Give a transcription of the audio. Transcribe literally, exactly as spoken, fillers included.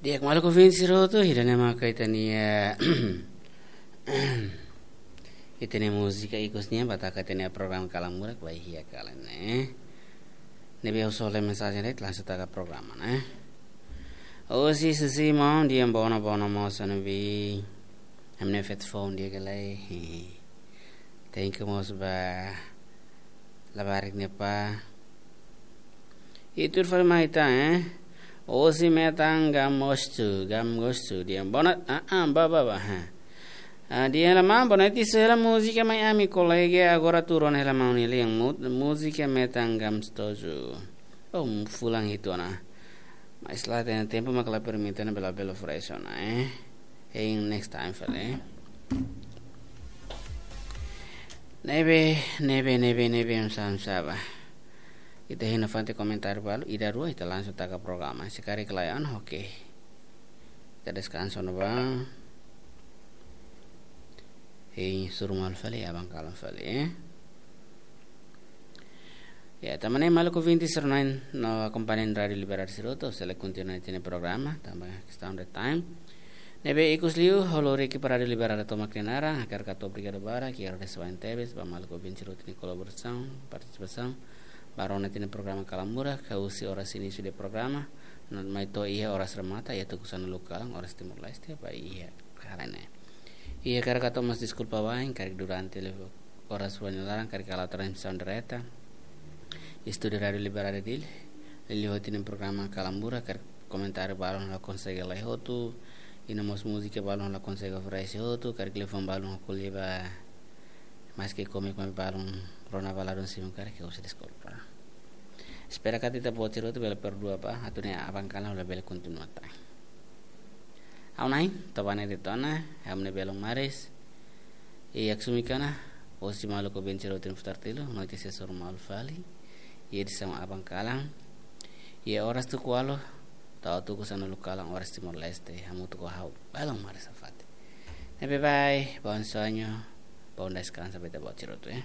Di'ak, maluk ouvinte sira hotu, ida-ne'e maka ita-nia, ita-nia múzika ikus nian ba taka ita-nia programa Kalan Murak ba iha kalan ne'e. Ne'ebé ha'u soe mensajen de'it, langsung taka programa ne'e. Osi sisi mau dia bona bona mau sanu bi. Hamne fet phone dia gelai. Thank you mós ba labarik ne'e pá. Itu fali mai ita, eh. Osi metan gam gostu, gam gostu. Dia bona, ah, ah, ba, ba, ba, ha. Ah, dia hela maun, bona iti sela múzika mai ami kolega agora turun hela maun nili yang mu-, múzika metan gam stoju. Oh, fulan itu na. Mas la tem tempo, mas la permite na bela bela fresh na, eh. Hein next time fali, eh. Ne'ebé, ne'ebé, ne'ebé, ne'ebé, um sam saba. Ita hein nafatin komentáriu balu, ida rua, ita langsung taka programa. Se karik lae, oke. Ita deskansa ona ba. Hein, hasoru malu fali, aban kalan fali, eh. Ya, tanba ne'e maluk ouvinte sira-ne'e no akompaña Rádiu Liberdade sira hotu, sei kontinua ita-nia programa, tanba kestaun de time. Ne'ebé ikus liu, ha'u lori ekipa Rádiu Liberdade tomak nia naran, hakarak hato'o obrigadu barak, hakarak agradese tebes ba maluk ouvinte sira hotu nia kolaborasaun, partisipasaun, ba rona ita-nia programa Kalan Murak, husi oras inísiu de programa, no mai to'o iha oras remata, iha tuku sanulu kalan, oras Timor-Leste, ba iha kalan ne'e. Hakarak hato'o mós deskulpa wa'in, karik durante liu oras rua nia laran, karik halo transmisaun direta. Estúdiu Rádiu Liberdade Dili, liuliu ita-nia programa Kalan Murak, karik komentáriu balun la konsege la'e hotu, i no mós múzika balun la konsege oferese hotu, karik telefone balun ko'alia ba, maske kome kome balun rona ba ladún simu karik, ha'u sei deskulpa. Espera katak ita-boot sira hotu bele perdua ba, atu nune'e aban kalan labele kontinua tan. Ha'u-nia na'in, Tobane de Tona, ha'u-nia belun Maris. I haksolok ona, osi maluk ouvinte sira hotu nia futar tilu, noite sei hasoru malu fali. I edisaun aban kalan. I oras tuku ualu, to'o tuku sanulu kalan oras Timor-Leste, hamutuk ho ha'u, belun Maris Safati. Ne'ebé bye, bom sonho, bom descanso, ba ita-boot sira hotu, eh.